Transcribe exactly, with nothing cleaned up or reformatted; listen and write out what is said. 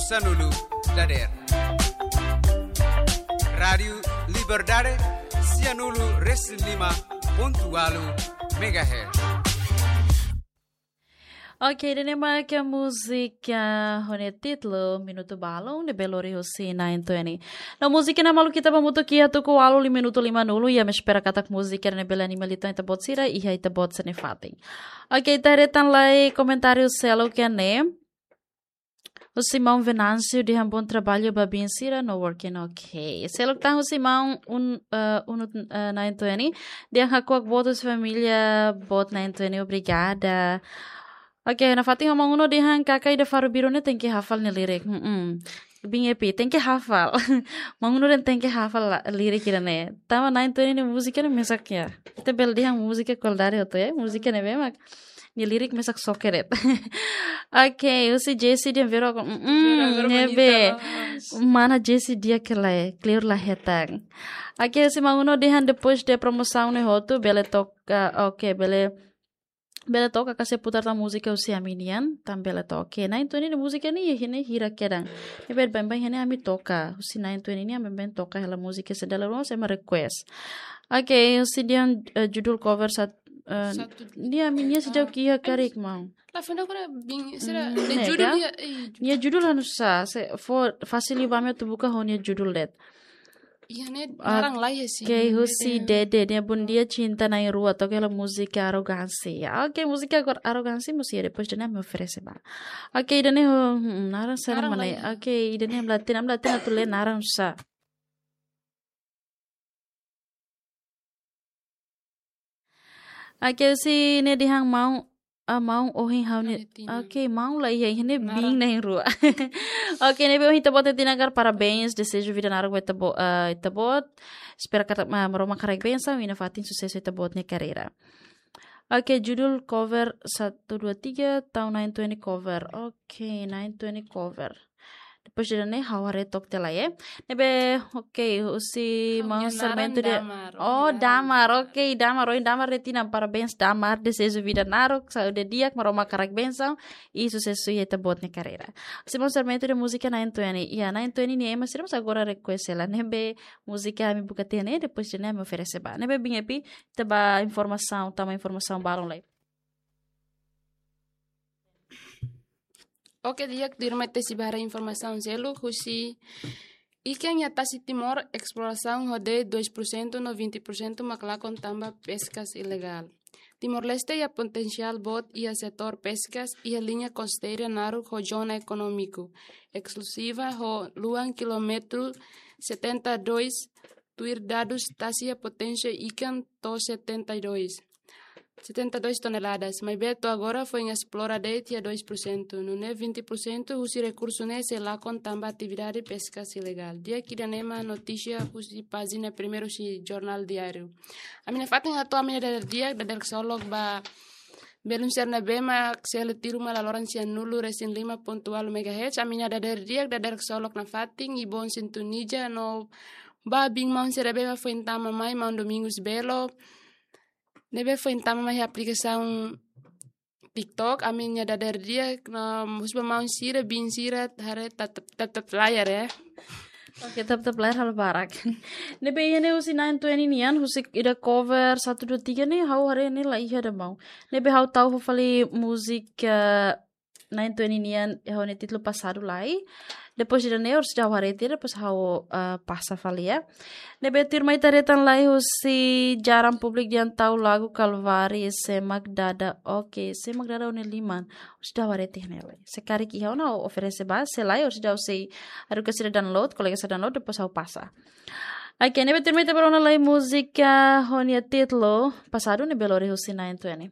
Sanulu dader. Rádiu Liberdade, sianulu resin lima pontu ualu megahertz. Ok, ida-ne'e mak múzika ho nia títulu Minutu Balun, ne'ebé lori husi Nine Twenty. No múzika ne'e maluk ita ba hamutuk iha tuku ualu minutu lima nulu, i ami espera katak múzika ne'e bele anima liután ita-boot sira iha ita-boot sira-nia fatin. Ok, ita haree tan lai komentáriu seluk ne'e. Husi maun Venâncio dehan bom trabalho ba biin sira no working, ok. Seluk tan husi maun un, eh, unu, eh, Nine Twenty. Dehan hakuak boot husi família boot Nine Twenty, obrigada. Ok, nafatin ho maun Uno dehan kakai de Faro Biru ne'e tenke hafal nia lirik. Hmm. Biin Epi, tenke hafal. Maun Uno dehan tenke hafal la, lirik ida-ne'e. Tanba Nine Twenty nia múzika ne'e mesak ya. Ita bele dehan múzika kualidade hotu ya. Múzika ne'ebé mak nia lirik mesak soke de'it. Ok, husi Jesse dehan vero aku. Mm, Vero, vero ne'ebé. Bonita, mas mana Jesse di'ak ka lae, kleur la hetan. Ok, husi maun Uno dehan depois de promosaun ne'e hotu, bele toka, ok, bele, bele toka ka sei putar tan múzika husi ami nian, tan bele toka. Ok, Nine Twenty nia múzika ne'e, ne'e hira kedan. Ne'ebé baibain ne'e ami toka, husi Nine Twenty ne'e ami baibain toka hela múzika sendela ruas ema request. Ok, husi dehan, eh, judul cover sat, eh, Satu. Nia, ami nia sejauh Ah, kia karik maun. La funda kura biin sira, Hmm, ne'e nega judul ka? Nia, eh, judul. Nia judul anu sa, se fó fasil ba ami atu buka ho nia judul de'it. Iya ne'e, Ah, naran lai ya sih. Ok, husi Dede, nia bom dia cinta na'in-rua, toka hela múzika Arrogância. Ok, múzika agora Arrogância, múzika depois de ne'e ami oferese ba. Ok, ida-ne'e ho, hmm, naran sira Naran mana lai. Ok, ida-ne'e ami la hatene, ami la hatene atu lee naran sa. Ok, husi ne'e dehan maun, ah, maun ohin ha'u ne'e. Ha'u ne'e tinan. Ok, maun la iha, iha ne'e Naran. Biin na'in-rua. Ok, ne'ebé ohin ita-boot nia tinan karik parabéns, deseju vida naruk ba ita-bo-, ah, ita-boot. Espera katak Ma-, Maromak haraik bensaun, i nafatin susesu ita-boot nia karreira. Ok, judul cover satu dua tiga, tau Nine Twenty cover. Ok, Nine Twenty cover. Depois de ne'e, ha'u haree took tiha lai, eh. Ne'ebé, ok, husi Ha'u maun nia naran Sarmento dehan. Damar, Oh, ohin Damar. Damar, ok, Damar, ohin Damar dehan tinan, parabéns, Damar, deseju vida naruk, saúde di'ak, Maromak haraik bensaun, i susesu iha ita-boot nia karreira. Husi maun Sarmento dehan múzika Nine Twenty, ya, Nine Twenty nia ema sira mós agora request hela, ne'ebé múzika ami buka tiha ne'e, depois de ne'e ami oferese ba. Ne'ebé biin Epi, ita ba informasaun, tama informasaun balun lai. Ok, di'ak, tuirmai ita sei ba haree informasaun seluk husi ikan iha tasi Timor, exploração rodeio dois por cento no vinte por cento mak lakon tanba peskas ilegál. Timor-Leste iha potensiál boot iha setór peskas iha liña kosteira naruk ho zona ekonómiku eskluziva ho luan kilómetru setenta e dois, tuir dadus tasi iha poténsia ikan to'o setenta e dois, setenta e dois toneladas, maibé to'o agora foin esplora de'it iha dois por cento, nune'e vinte por cento husi rekursu ne'e sei lakon tanba atividade peskas ilegál. Di'ak, ida-ne'e mak notísia husi pájina primeiru husi Jornál Diáriu. Ami nafatin hato'o ami-nia dadeer di'ak, dadeer ksolok ba belun sira ne'ebé mak selu tiru mai laloran sianulu resin lima pontu ualu megahertz, ami-nia dadeer di'ak, dadeer ksolok nafatin, i bom sintoniza no ba biin maun sira ne'ebé mak foin tama mai, maun Domingos Belo, ne'ebé foin tama mai aplikasaun TikTok, ami-nia dadeer di'ak, no husu ba maun sira, biin sira, haree tap-, tap-, tap-, tap layar ya. Ok, tap-tap layar halo barak. Ne'ebé iha ne'e husi Nine Twenty nian, husi ida cover satu dua tiga ne'e, ha'u haree ne'e la iha ida maun. Ne'ebé ha'u tau fali múzika, eh, Nine Twenty nian, ha'u-nia títulu Passado lai. Depois de ne'e, orsida ha'u haree tiha, depois ha'u, eh, pasa fali ya. Ne'ebé tuirmai ita haree tan lai husi Jaran Públiku dehan tau lagu Kalvari, sé mak dada, ok, sé mak dada ó-nia liman. Orsida ha'u haree tiha ne'e lai. Se karik iha ona ha'u oferese ba, se lae, orsida ha'u sei haruka sira download, kolega sira download, depois ha'u pasa. Ok, ne'ebé tuirmai ita ba rona lai múzika ho nia títulu Passado ne'ebé lori husi Nine Twenty.